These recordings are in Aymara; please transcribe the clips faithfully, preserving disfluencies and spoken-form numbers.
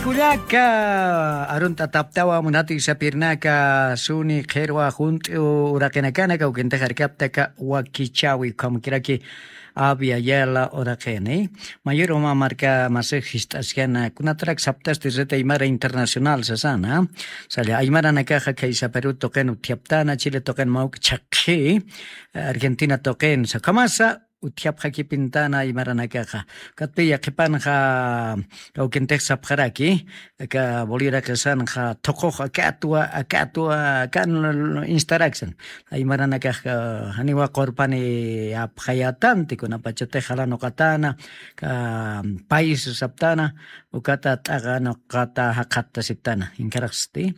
Kullaka arunt'ataptawa munati sapirnaka suni qhirwa junt'u uraqinakana kawkintix arkaptaka wakichawi ukhamakiraki Avia Yala uraqini. Mayur uma marka masix jist'askana kunatarak saptasti rit aymara internacional sasana. Sali aymaranakaxa khaysa Perú tuqin utjaptana, Chile tuqin mawk chhaqhi, Argentina tuqin sakhamasa utjapxakipintana aymaranakaxa. Katpiya qhipanxa kawkintix sapxaraki aka boliraqisanxa thuqux akatwa akatwa kan instaraksan. Aymaranakax janiwa qurpani apxayatanti kunapachatix jalanuqatana ka país saptana ukata t'aqa nuqata jaqhatta siptana inkaraqsti.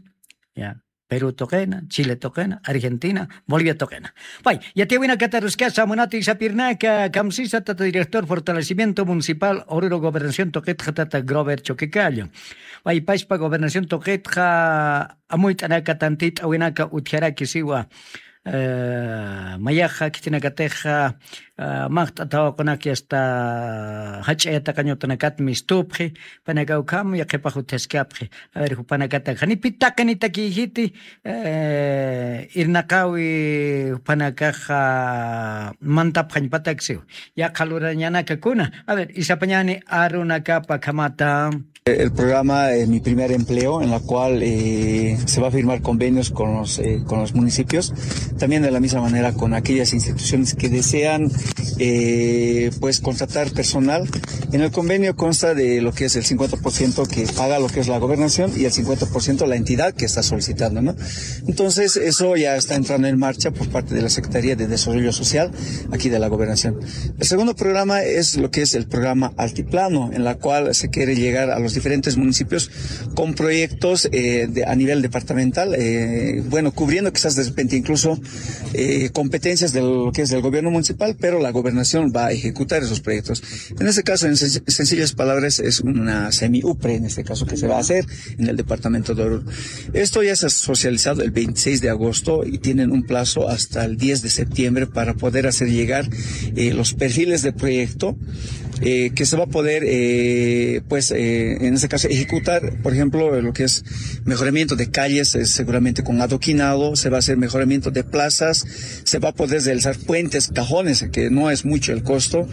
Ya, Perú tuqina, Chile tuqina, Argentina, Bolivia tuqina. Pay yatiyawinakata ruskasa munati sapirnaka kamsisa tata director fortalecimiento municipal oruro gobernación tuqitxa tata Grover Choquecallo. Paypaspa gobernación tuqitxa amuyt'anaka tantit'awinaka utjaraki siwa. Mayaxa khitinakatixa maqt'atawaqunak yasta jach'a yataqañutanakat mistupxi panaka ukham yaqhipax utjaskapxi. A ver jupanakatak janipitaqinitakiyjiti irnaqawi jupanakaxa mantapxañpataksiw. Yaqha lurañanaka kuna a ver isapañani arunakapa khamata. El programa, eh, Mi Primer Empleo, en la cual eh, se va a firmar convenios con los, eh, con los municipios, también de la misma manera con aquellas instituciones que desean eh, pues contratar personal. En el convenio consta de lo que es el cincuenta por ciento que paga lo que es la gobernación y el cincuenta por ciento la entidad que está solicitando, ¿no? Entonces, eso ya está entrando en marcha por parte de la Secretaría de Desarrollo Social aquí de la gobernación. El segundo programa es lo que es el programa Altiplano, en la cual se quiere llegar a los diferentes municipios con proyectos eh, de, a nivel departamental, eh, bueno, cubriendo quizás de repente incluso eh, competencias de lo que es del gobierno municipal, pero la gobernación va a ejecutar esos proyectos. En este caso, en sen- sencillas palabras, es una semi-upre, en este caso, que se va a hacer en el departamento de Oruro. Esto ya se ha socializado el veintiséis de agosto y tienen un plazo hasta el diez de septiembre para poder hacer llegar eh, los perfiles de proyecto eh, que se va a poder, eh, pues, eh, en este caso, ejecutar, por ejemplo, lo que es mejoramiento de calles, eh, seguramente con adoquinado, se va a hacer mejoramiento de plazas, se va a poder realizar puentes, cajones, que no es mucho el costo.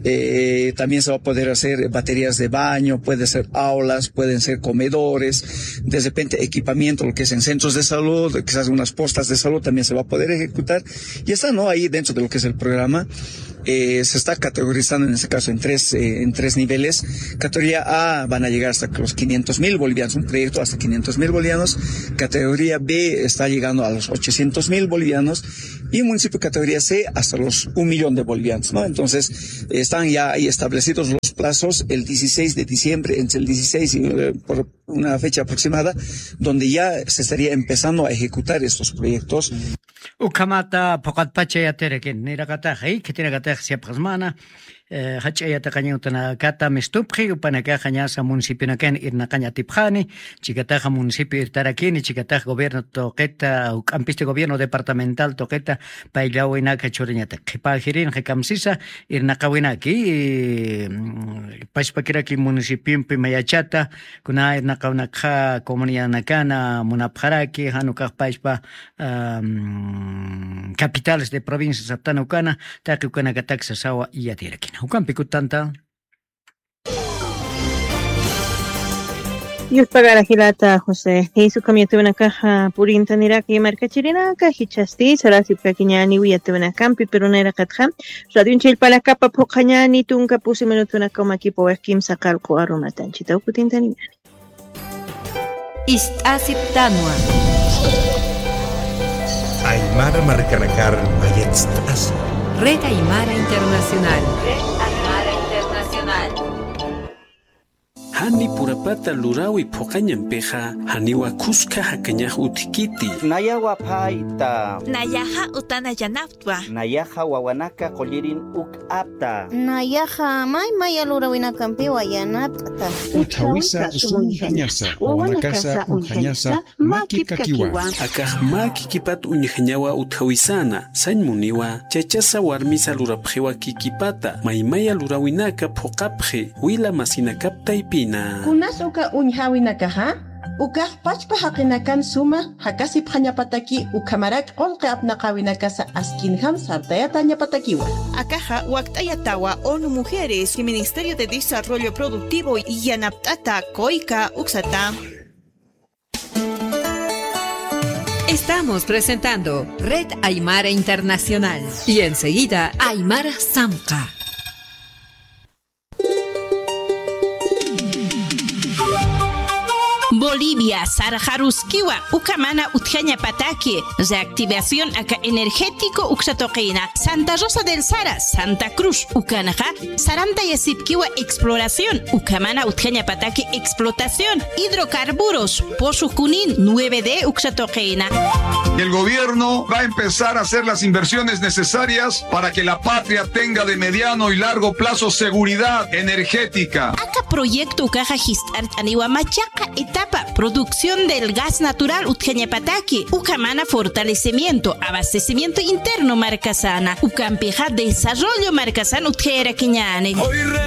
Eh, también se va a poder hacer baterías de baño, puede ser aulas, pueden ser comedores, de repente equipamiento, lo que es en centros de salud, quizás unas postas de salud también se va a poder ejecutar. Y está, ¿no? Ahí dentro de lo que es el programa. Eh, se está categorizando en este caso en tres, eh, en tres niveles. Categoría A van a llegar hasta los quinientos mil bolivianos, un proyecto hasta quinientos mil bolivianos. Categoría B está llegando a los ochocientos mil bolivianos. Y un municipio de categoría C hasta los un millón de bolivianos, ¿no? Entonces, están ya ahí establecidos los plazos, el dieciséis de diciembre, entre el dieciséis y eh, por una fecha aproximada, donde ya se estaría empezando a ejecutar estos proyectos. Ukhamata phuqatpacha yatirakin niraqataxa khitinakataxa siyapxasmana. Jach'a yataqaña utanakata mistupxi upanakaxa ñasa municipionakan irnaqañ atipxani. Chikataxa municipio irtarakini chikataxa gobierno tuqita juk'ampisti gobierno departamental tuqita payllawinaka churañata qhipajirinxa kamsisa irnaqawinaki. Pachpakiraki municipiompi mayachata kuna irnaqawnakxa comunidanakana munapxaraki janukax pachpa capitales de provincia saptana ukana taqi ukanakatak sasawa iyatirakina ukampi kutanta. Yuspagara jilata josé, jisukam yatiwanakaxa purintaniraka yamarkachirinaka jichasti sarasipkakiñani wiyatiwanakampi piruniraqatxa. Radion chillpanakapa phuqhañani tunka pusi minutunakaw makipa wajkimsa qalqu arumatanchita ukutintaniñani. Ist'asiptanwa. Aymara markanakar mayatst'asi. Red Aymara Internacional. Red Aymara Internacional. Jani purapata lurawi phuqañampixa janiwa khuska jakañax utjkiti. Nayawa phayta. Nayaxa utana yanaptwa. Nayaxa wawanaka qullirin uk'apta. Nayaxa may maya lurawinakampiwa yanapt'ta. Utjawisa sum uñjañasa wawanakasa uñjañasa maki kakiwa. Akax mä kikipat uñjañawa utjawisana sañ muniwa chachasa warmisa lurapxiwa kikipata maymaya lurawinaka phuqapxi wila masinakap taypin. Kunas uka uñjäwinakaxa, ukax pachpa jaqinakan suma jakasipxañapataki ukhamarak qullqi apnaqäwinakasa askinjam sartayatäñapatakiwa. Akaxa wakt'ayatawa ONU Mujeres y Ministerio de Desarrollo Productivo yanapt'ata COICA uksata. Estamos presentando Red Aymara Internacional y enseguida Aymara Samqa. Bolivia, sarxaruskiwa, ukamana utjañapataki, reactivación aka energético uksatuqina, Santa Rosa del Sara, Santa Cruz, ukanxa, sarantayasipkiwa exploración, ukamana utjañapataki explotación, hidrocarburos, pozo Junín, nueve D uksatuqina. El gobierno va a empezar a hacer las inversiones necesarias para que la patria tenga de mediano y largo plazo seguridad energética. Aka proyecto ukaxa jist'arch'aniwa machaqa etapa producción del gas natural utjañapataki, ukamana fortalecimiento, abastecimiento interno markasana, ukampixa desarrollo markasan utjayarakiñäni.